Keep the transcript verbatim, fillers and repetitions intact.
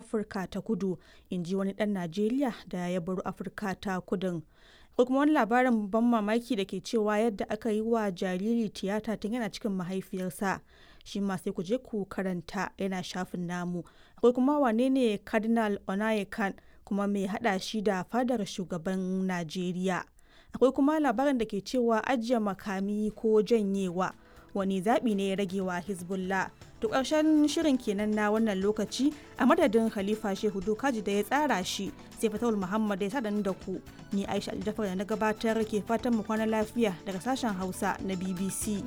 Afirka ta Kudu, in ji wani ɗan Najeriya da ya baro Afirka ta Kudun. Ko kuma wani labarin ban mamaki da ke cewa yadda aka yi wa jariri tiyata tun yana cikin mahaifiyarsa. Shi ma sai ku je ku karanta yana shafin namu. Akwai kuma wane ne Cardinal Onayekan kuma mai haɗa shi da fadar shugaban Najeriya. Akwai kuma labarin da ke cewa ajiye makami ko janyewa wani zaɓi ne ya rage wa Hezbollah. To ƙarshen shirin kenan na wannan lokaci a madadin Khalifa Shehu Dokaji da ya tsara shi sai Fatawul Muhammad ya sadan da ku. Ni Aisha Aljafar da na gabatar ke fatan mu kwana lafiya daga sashen Hausa na B B C.